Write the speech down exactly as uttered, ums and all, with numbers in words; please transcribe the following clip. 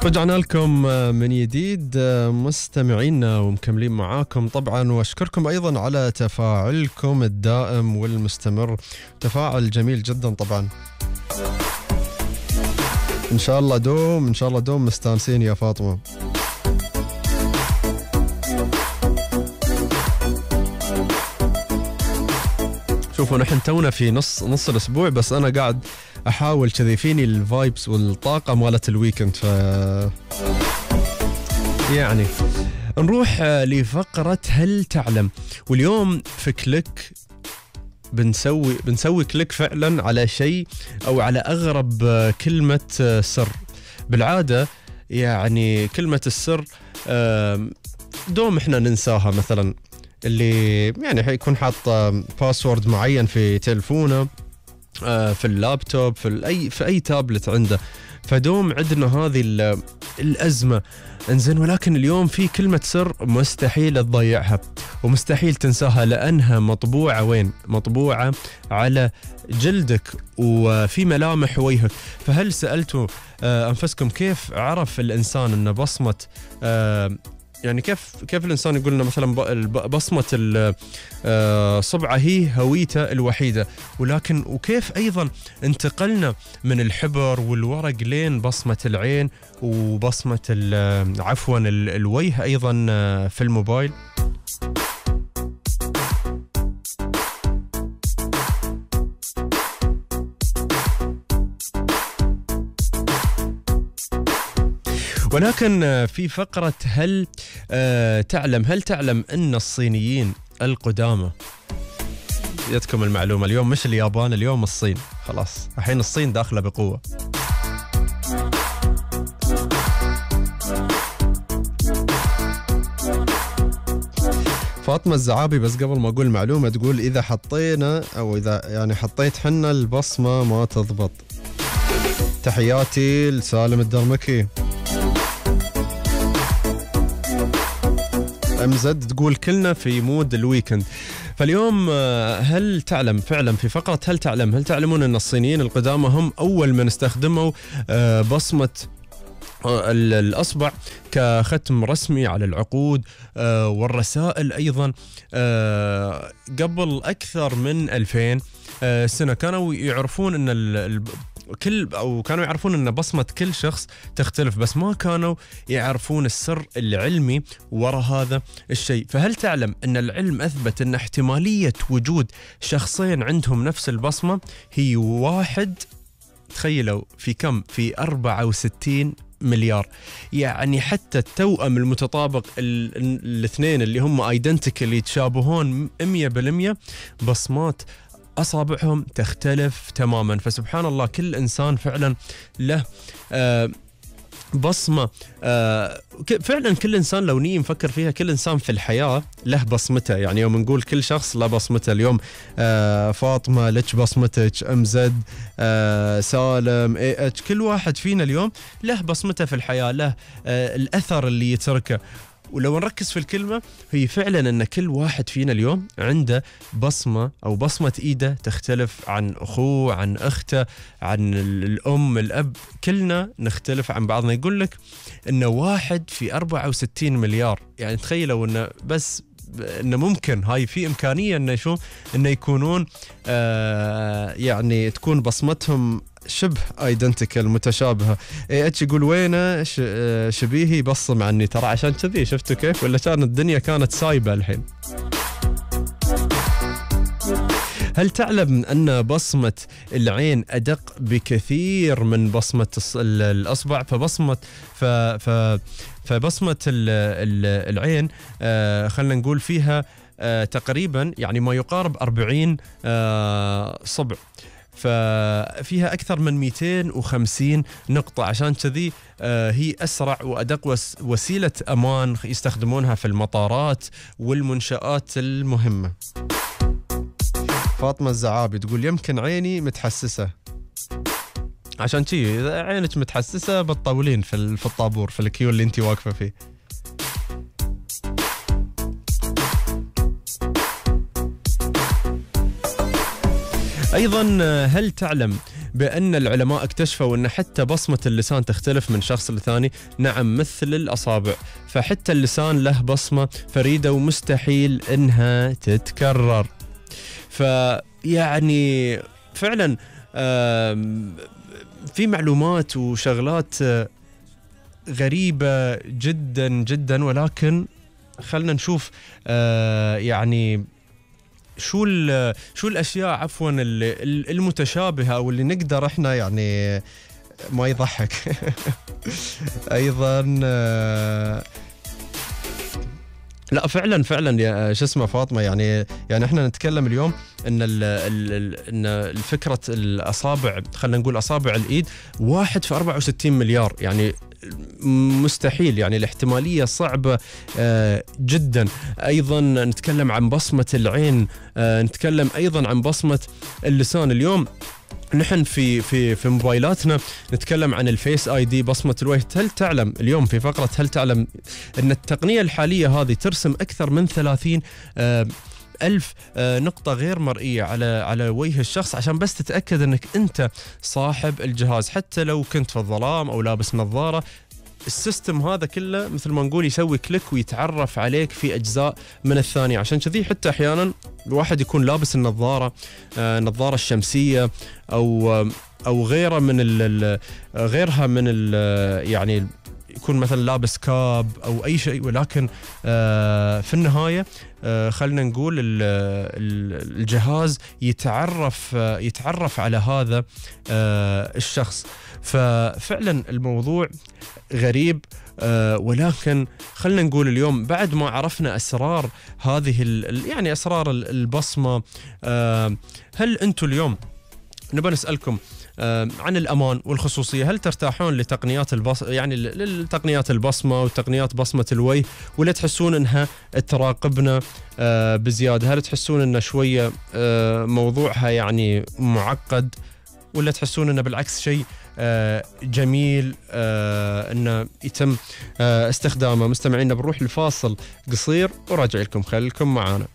رجعنا لكم من جديد مستمعينا ومكملين معاكم طبعا، واشكركم ايضا على تفاعلكم الدائم والمستمر، تفاعل جميل جدا طبعا. ان شاء الله دوم ان شاء الله دوم مستانسين يا فاطمة. شوفوا نحن تونا في نص نص الاسبوع، بس انا قاعد احاول كذي فيني الفايبس والطاقه مالت الويكند. ف يعني نروح لفقره هل تعلم، واليوم في كليك بنسوي بنسوي كليك فعلا على شيء او على اغرب كلمه سر. بالعاده يعني كلمه السر دوم احنا ننساها، مثلا اللي يعني حيكون حاط باسورد معين في تلفونه، في اللابتوب، في اي في اي تابلت عنده، فدوم عندنا هذه الازمه. انزين، ولكن اليوم في كلمه سر مستحيل تضيعها ومستحيل تنساها، لانها مطبوعه وين؟ مطبوعه على جلدك وفي ملامح وجهك. فهل سالتوا انفسكم كيف عرف الانسان ان بصمه يعني كيف كيف الإنسان يقول لنا مثلا بصمة الصبعة هي هويته الوحيدة، ولكن وكيف أيضا انتقلنا من الحبر والورق لين بصمة العين وبصمة عفوا الوجه أيضا في الموبايل؟ ولكن في فقرة هل آه تعلم هل تعلم أن الصينيين القدامى، جتكم المعلومة اليوم مش اليابان، اليوم الصين، خلاص الحين الصين داخلة بقوة. فاطمة الزعابي بس قبل ما أقول معلومة تقول إذا حطينا أو إذا يعني حطيت حنا البصمة ما تضبط. تحياتي لسالم الدرمكي. أمزد تقول كلنا في مود الويكند. فاليوم هل تعلم فعلا في فقرة هل تعلم هل تعلمون أن الصينيين القدامى هم أول من استخدموا بصمة الأصبع كختم رسمي على العقود والرسائل أيضا قبل أكثر من ألفين سنة. كانوا يعرفون أن كل أو كانوا يعرفون أن بصمة كل شخص تختلف، بس ما كانوا يعرفون السر العلمي وراء هذا الشيء. فهل تعلم أن العلم أثبت أن احتمالية وجود شخصين عندهم نفس البصمة هي واحد، تخيلوا في كم؟ في أربعة وستين مليار. يعني حتى التوأم المتطابق الاثنين اللي هم ايدنتيكال يتشابهون مية بالمية، بصمات أصابعهم تختلف تماما. فسبحان الله كل إنسان فعلا له آه بصمة. آه فعلا كل إنسان لو نيجي نفكر فيها، كل إنسان في الحياة له بصمته. يعني يوم نقول كل شخص له بصمته، اليوم آه فاطمة لك بصمتك، أمزد، آه سالم، اي اتش، كل واحد فينا اليوم له بصمته في الحياة، له آه الأثر اللي يتركه. ولو نركز في الكلمة هي فعلا أن كل واحد فينا اليوم عنده بصمة أو بصمة إيده تختلف عن أخوه، عن أخته، عن الأم، الأب، كلنا نختلف عن بعضنا. يقول لك أنه واحد في أربعة وستين مليار. يعني تخيلوا أنه بس أنه ممكن هاي في إمكانية أنه شو أنه يكونون آه يعني تكون بصمتهم شبه ايدنتيكال متشابهه. اي اتش يقول وينه شبيهي بصم عني، ترى عشان كذي شفتوا كيف، ولا كانت الدنيا كانت سايبه الحين. هل تعلم أن بصمة العين أدق بكثير من بصمة الأصبع؟ فبصمة ف ف فبصمة العين آه خلنا نقول فيها آه تقريبا يعني ما يقارب أربعين آه صبع، ففيها أكثر من مئتين وخمسين نقطة. عشان كذي آه هي أسرع وأدق وسيلة أمان يستخدمونها في المطارات والمنشآت المهمة. فاطمة الزعابي تقول يمكن عيني متحسسة، عشان شي إذا عينك متحسسة بتطولين في في الطابور في الكيو اللي انتي واقفة فيه. أيضا هل تعلم بأن العلماء اكتشفوا أن حتى بصمة اللسان تختلف من شخص لثاني. نعم، مثل الأصابع، فحتى اللسان له بصمة فريدة ومستحيل أنها تتكرر. فيعني فعلا في معلومات وشغلات غريبة جدا جدا، ولكن خلنا نشوف يعني شو شو الأشياء عفوا المتشابهة أو اللي نقدر إحنا يعني ما يضحك. أيضا لا فعلا فعلا يا شو اسمه فاطمة، يعني يعني احنا نتكلم اليوم ان ال ال ان الفكرة الاصابع، خلينا نقول اصابع الايد واحد في أربعة وستين مليار، يعني مستحيل، يعني الاحتمالية صعبة آه جدا. ايضا نتكلم عن بصمة العين، آه نتكلم ايضا عن بصمة اللسان. اليوم نحن في في في موبايلاتنا نتكلم عن الفيس اي دي، بصمة الوجه. هل تعلم اليوم في فقرة هل تعلم ان التقنية الحالية هذه ترسم اكثر من ثلاثين آه ألف آه نقطة غير مرئية على على وجه الشخص، عشان بس تتأكد انك انت صاحب الجهاز، حتى لو كنت في الظلام او لابس نظارة. السيستم هذا كله مثل ما نقول يسوي كليك ويتعرف عليك في أجزاء من الثانية. عشان كذي حتى أحيانا الواحد يكون لابس النظارة آه النظارة الشمسية أو آه أو غيرها من ال غيرها من ال يعني يكون مثلا لابس كاب أو أي شيء، ولكن آه في النهاية آه خلنا نقول الجهاز يتعرف آه يتعرف على هذا آه الشخص. ففعلا الموضوع غريب، آه ولكن خلنا نقول اليوم بعد ما عرفنا أسرار هذه يعني أسرار البصمة، آه هل أنتم اليوم نبغى نسألكم آه عن الأمان والخصوصية، هل ترتاحون لتقنيات البص يعني لتقنيات البصمة وتقنيات بصمة الوجه، ولا تحسون أنها تراقبنا آه بزيادة؟ هل تحسون أن شوية آه موضوعها يعني معقد، ولا تحسون أنه بالعكس شيء آه جميل آه أنه يتم آه استخدامه؟ مستمعينا بنروح لفاصل قصير وراجع لكم، خليكم معانا.